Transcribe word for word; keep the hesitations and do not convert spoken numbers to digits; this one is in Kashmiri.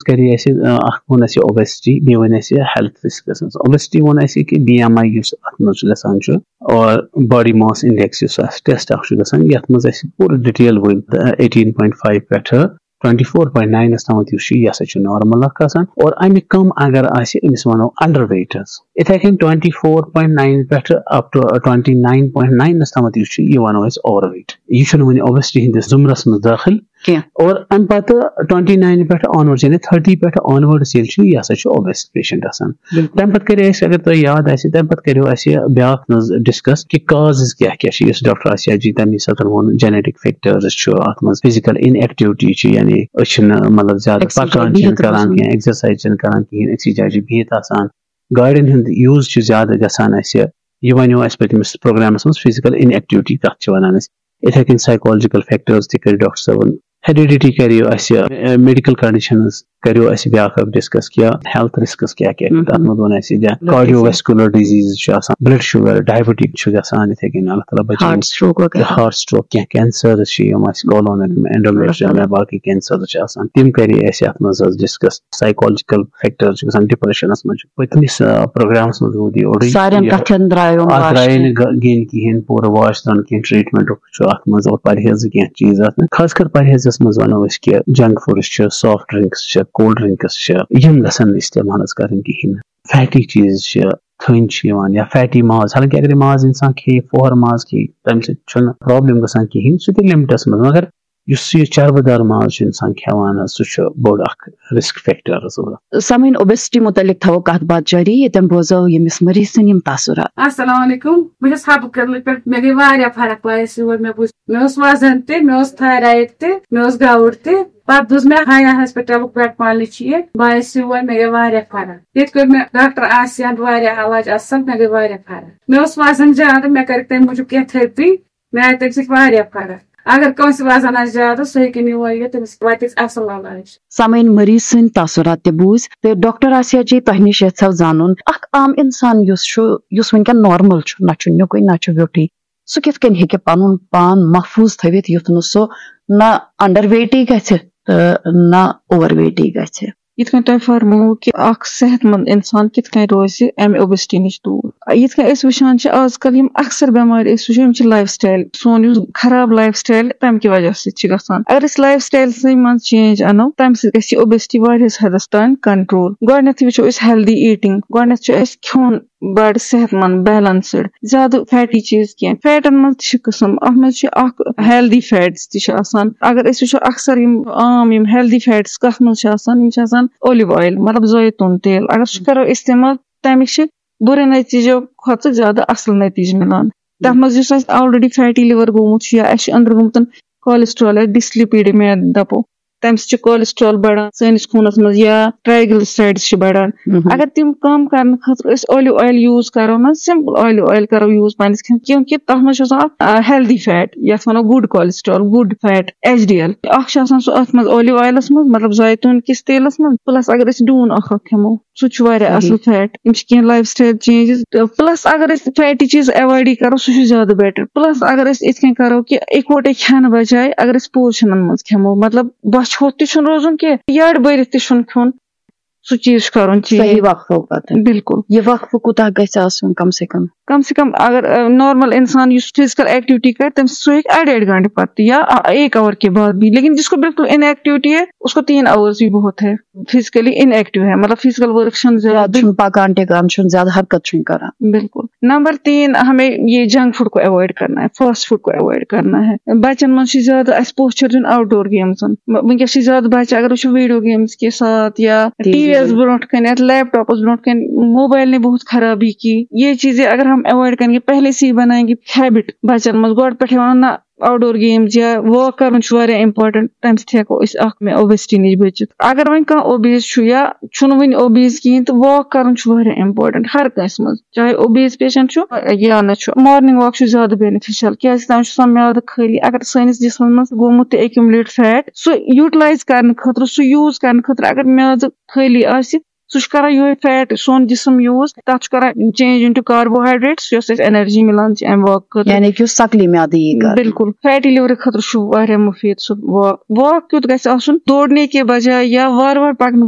کَرے اَسہِ، آ، اَکھ ووٚن اَسہِ اوبیسٹی، بیٚیہِ ووٚن اَسہِ ہیلتھ رِسکَس منٛز۔ اوبیسٹی ووٚن اَسہِ کہِ بی ایم آی یُس اَتھ منٛز چھُ گژھان چھُ، اور باڈی ماس انڈیکس یُس اَسہِ ٹیسٹ اَکھ چھُ گژھان، یَتھ منٛز اَسہِ پوٗرٕ ڈِٹیل ؤنۍ، ایٹیٖن پوینٹ فایو پٮ۪ٹھٕ ٹُوَنٹی فور پوینٹ ناینَس تامَتھ یُس چھُ، یہِ ہسا چھُ نارمل اَکھ آسان، اور اَمہِ کَم اگر آسہِ، أمِس وَنو انڈر ویٹ حظ۔ یِتھَے کٔنۍ ٹُوَنٹی فور پوینٹ ناین پٮ۪ٹھٕ up to twenty nine point ناینَس تامَتھ یُس چھُ، یہِ وَنو أسۍ اوور ویٹ۔ یہِ چھُنہٕ وٕنہِ اوبیسٹی ہِنٛدِس زُمرَس منٛز دٲخِل۔ کینٛہہ۔ اور اَمہِ پَتہٕ ٹُوَنٹی ناین پٮ۪ٹھٕ آنورڈ، یعنی تھٔرٹی پٮ۪ٹھٕ آنورڈس ییٚلہِ چھُ، یہِ ہسا چھُ اوبیس پیشنٹ آسان۔ بِلکُل۔ تَمہِ پَتہٕ کَرے اَسہِ، اگر تۄہہِ یاد آسہِ، تَمہِ پَتہٕ کَریو اَسہِ بیٛاکھ نٔز ڈِسکس کہِ کازز کیٛاہ کیٛاہ چھِ، یُس ڈاکٹر آسیا جی تَمی ساتہٕ ووٚن، جینیٹک فیکٹرز چھُ اَتھ منٛز، فزیکل ان ایکٹیوٹی چھِ، یعنی أسۍ چھِنہٕ، مطلب، زیادٕ Exercise پَکان بِہِتھ چھِنہٕ کَران روزُن۔ کینٛہہ، ایکسرسایز چھِنہٕ کَران کِہیٖنۍ، أکسٕے جایہِ چھِ بِہِتھ آسان، گاڑٮ۪ن ہُنٛد یوٗز چھُ زیادٕ گژھان اَسہِ۔ یہِ وَنیو اَسہِ پٔتمِس پروگرامَس منٛز، فزیکل ان ایکٹیوٹی کَتھ چھِ وَنان أسۍ۔ یِتھَے کٔنۍ سایکولجیکل فیکٹرز تہِ کٔرۍ ڈاکٹر صٲبَن۔ ہیریڈیٹی کَریو اَسہِ، میڈیکل کنڈیشنز کَریو اَسہِ بیٛاکھ اَکھ ڈِسکس، کہِ ہیلتھ رِسکس کیٛاہ کیٛاہ چھِ۔ تَتھ منٛز ووٚن اَسہِ، یا کارڈیو ویسکولر ڈِزیٖز چھُ آسان، بلڈ شُگر، ڈایبٹک چھُ گژھان، یِتھَے کٔنۍ اللہ تعالیٰ بچٲیِن۔ ہارٹ سٹروک وغیرہ۔ ہارٹ سٹروک، کینٛہہ کینسرز چھِ، یِم اَسہِ کولونل، اینڈومیٹریل یا باقٕے کینسرز چھِ آسان، تِم کَرے اَسہِ اَتھ منٛز حظ ڈِسکس۔ سایکولجیکل فیکٹرز چھِ گژھان، ڈپریشنس منٛز چھُ۔ پٔتمِس، آ، پروگرامس منٛز روٗد یہِ اوٚڑُے۔ سارٮ۪ن یہِ کَتھٮ۪ن درٛایو اَتھ واش درٛایے کینٛہہ۔ نہٕ گا-، گین کِہیٖنۍ، پوٗرٕ واش دِوان کینٛہہ، ٹریٹمنٹُک چھُ اَتھ منٛز، اور پرہیزٕ کینٛہہ چیٖز اَتھ منٛز۔ خاص کر پرہیزس منٛز وَنو أسۍ کہِ جنک فوڈس چھِ، کولڈ ڈرنکس چھِ، یِم گژھن نہٕ استعمال حظ کَرٕنۍ کِہیٖنۍ نہٕ۔ فیٹی چیٖز چھِ، تھٔنۍ چھِ یِوان یا فیٹی ماز، حالانکہ اگر یہِ ماز اِنسان کھیٚیہِ، فوہر ماز کھیٚیہِ، تَمہِ سۭتۍ چھُنہٕ پرابلم گژھان کِہیٖنۍ، سُہ تہِ لِمٹس منٛز۔ مگر یُس یہِ چربہٕ دار ماز چھُ اِنسان کھٮ۪وان حظ، سُہ چھُ بوٚڑ اکھ رِسک فیکٹر حظ۔ سامعیٖن، اوبیسٹی متعلق تھاوو کتھ باتھ جٲری، ییٚتٮ۪ن بوزو ییٚمِس مریض سٕنٛدۍ یِم تاثرات۔ السلام علیکم، بہٕ چھَس حبہٕ کدلہٕ پٮ۪ٹھ۔ مےٚ گٔے واریاہ فرق وایس یور۔ مےٚ بوٗز، مےٚ اوس وزن تہِ، مےٚ اوس تھایرایڈ تہِ، مےٚ اوس گاوُٹ تہِ۔ پتہٕ بوٗز مےٚ حیا ہسپتالُک پٮ۪ٹھ پالنہِ چھِ یہِ۔ بہٕ آیس یور، مےٚ گٔے واریاہ فرق۔ ییٚتہِ کوٚر مےٚ ڈاکٹر آسیاہن واریاہ علاج اصل، مےٚ گٔے واریاہ فرق۔ مےٚ اوس وزن زیادٕ، مےٚ کٔرٕکھ تمہِ موٗجوٗب کینٛہہ تھرپی۔ مےٚ آیہِ تمہِ سۭتۍ واریاہ فرق۔ اگر کٲنٛسہِ وزن آسہِ زیادٕ، سُہ ہیٚکہِ یور یِتھ، تٔمِس واتہِ اصل علاج۔ سامعیٖن، مریض سٕنٛدۍ تاثرات تہِ بوٗزۍ تہٕ ڈاکٹر آسیا جی، تۄہہِ نِش یژھو زانُن، اکھ عام انسان یُس چھُ، یُس وٕنکیٚن نارمل چھُ، نہ چھُ نیُکُے نہ چھُ ویوٚٹھُے، سُہ کِتھ کٔنۍ ہیٚکہِ پنُن پان محفوظ تھٲوِتھ یُتھ نہٕ سُہ نہ انڈر ویٹی گژھِ تہٕ نہ اوور ویٹی گژھِ؟ یِتھ کٔنۍ تۄہہِ فرمووُ کہِ اکھ صحت مند انسان کِتھ کٔنۍ روزِ امہِ اوبیسٹی نِش دوٗر۔ یِتھ کٔنۍ أسۍ وٕچھان چھِ آز کل یِم اکثر بٮ۪مارِ أسۍ وٕچھو، یِم چھِ لایف سٹایل، سون یُس خراب لایف سٹایل تمہِ کہِ وجہ سۭتۍ چھِ گژھان۔ اگر أسۍ لایف سٹایلسٕے منٛز چینج انو، تمہِ سۭتۍ گژھِ یہِ اوبیسٹی واریاہس حدس تام کنٹرول۔ گۄڈٕنیتھٕے وٕچھو أسۍ ہیلدی ایٹنگ، گۄڈٕنیتھ چھُ اَسہِ کھیوٚن بڑٕ صحت مند، بیلنسڈ، زیادٕ فیٹی چیٖز کینٛہہ۔ فیٹن منٛز تہِ چھِ قٕسم، اتھ منٛز چھِ اکھ ہیلدی فیٹس تہِ چھِ آسان۔ اگر أسۍ وٕچھو اکثر یِم عام یِم ہیلدی فیٹس کتھ منٛز چھِ آسان، یِم چھِ آسان اولِو اویل، مطلب زیتون تیل۔ اگر سُہ کرو استعمال، تمِکۍ چھِ بُرٕ نتیٖجو کھۄتہٕ زیادٕ اصل نتیٖجہٕ مِلان۔ تتھ منٛز یُس اَسہِ آلریڈی فیٹی لِور گوٚمُت چھُ یا اَسہِ چھُ أنٛدرٕ گوٚمُت کولیسٹرال یا ڈسلیپیڈیمیا دپو، تمہِ سۭتۍ چھُ کولیسٹرال بڑان سٲنِس خوٗنس منٛز یا ٹرائیگلیسرائیڈز چھِ بڑان۔ اگر تِم کم کرنہٕ خٲطرٕ أسۍ اولِو اویل یوٗز کرو نہ، سمپل اولِو اویل کرو یوٗز پننِس کھٮ۪نس، کیونکہ تتھ منٛز چھُ آسان اکھ ہیلدی فیٹ، یتھ ونو good cholesterol, good fat, H D L. اکھ چھُ آسان سُہ اتھ منٛز اولِو اویلس منٛز، مطلب زیتون کِس تیلس منٛز، پلس اگر أسۍ ڈوٗن اکھ اکھ کھٮ۪مو، سُہ تہِ چھُ واریاہ اصل فیٹ۔ یِم چھِ کینٛہہ لایف سٹایل چینجز۔ پلس اگر أسۍ فیٹی چیٖز ایوایڈٕے کرو، سُہ چھُ زیادٕ بیٹر۔ پلس اگر أسۍ یِتھ کٔنۍ کرو کہِ اِکوٹے کھٮ۪نہٕ بجایہِ اگر أسۍ پورشنن منٛز کھٮ۪مو، مطلب بۄچھِ ہوٚت تہِ چھُنہٕ روزُن کینٛہہ، یٔڈ بٔرِتھ تہِ چھُنہٕ کھیوٚن، سُہ چیٖز چھُ کرُن چینج۔ صحیح وقفو پتہٕ۔ بِلکُل۔ یہِ وقفہٕ کوٗتاہ گژھِ آسُن کم سے کم؟ کم سے کم اگر نارمل انسان یُس فزیکل ایکٹیویٹی کرِ، تٔمِس سُہ ہیٚکہِ اڈِ اڈِ گھنٹہٕ پتہٕ یا اکھ آور کے بعد بھی، لیکن جس کو بالکل ان ایکٹیویٹی ہے، اس کو تین آورز بھی بہت ہے۔ فزیکلی ان ایکٹیو ہے، مطلب فزیکل ورک چھنہٕ زیادٕ۔ زیادٕ چھُنہٕ پکان ٹکان، چھُنہٕ زیادٕ حرکت چھُنہٕ کران۔ بالکل۔ نمبر تین، ہمیں یہ جنک فوڈ کو اوائڈ کرنا ہے، فاسٹ فوڈ کو اوائڈ کرنا ہے۔ بچن منٛز چھُ زیادٕ اسہِ پوسچر دیُن آوٹ ڈور گیمزن۔ م-، وٕنکیٚس چھِ زیادٕ بچہِ، اگر وٕچھو ویڈیو گیمز کے ساتھ یا ٹی وی۔ ٹی وی یس برونٛٹھ کنہِ یا لیپ ٹاپس برونٛٹھ کنہِ، موبایل نے بہت خرابی کی۔ یہ چیزیں اگر ہم اوائڈ کریں گے، پہلے سے ہی بنائیں گے ہیبٹ بچن منٛز، گۄڈٕ پٮ۪ٹھے ونو نہ، آوٹ ڈور گیمز یا واک کرُن چھُ واریاہ امپورٹنٹ، تمہِ سۭتۍ ہٮ۪کو أسۍ اکھ اوبیسٹی نِش بٔچِتھ۔ اگر وۄنۍ کانٛہہ اوبیز چھُ یا چھُنہٕ وُنہِ اوبیز کِہیٖنۍ، تہٕ واک کرُن چھُ واریاہ امپورٹنٹ ہر کٲنٛسہِ منٛز، چاہے اوبیز پیشنٹ چھُ یا نہ چھُ۔ مارننگ واک چھُ زیادٕ بینیفیشل، کیازِ تتھ منٛز چھُ آسان میادٕ خٲلی۔ اگر سٲنِس جسمس منٛز گوٚمُت تہِ ایکیوملیٹ فیٹ، سُہ یوٹیلایز کرنہٕ خٲطرٕ، سُہ یوٗز کرنہٕ خٲطرٕ اگر میادٕ خٲلی آسہِ، سُہ چھُ کران یِہوٚے فیٹ، سون جسم یوٗز، تَتھ چھُ کران چینج اِنٹو کاربوہایڈریٹس، یۄس اَسہِ انرجی مِلان چھِ اَمہِ واک خٲطرٕ۔ یعنی کہِ یُس سکلی میادٕ یی کرنہٕ۔ بِلکُل، فیٹی لِورٕ خٲطرٕ چھُ واریاہ مُفیٖد سُہ واک۔ واک کیُتھ گژھِ آسُن؟ دوڑنے کے بجایہِ یا وارٕ وارٕ پکنہٕ بجایہِ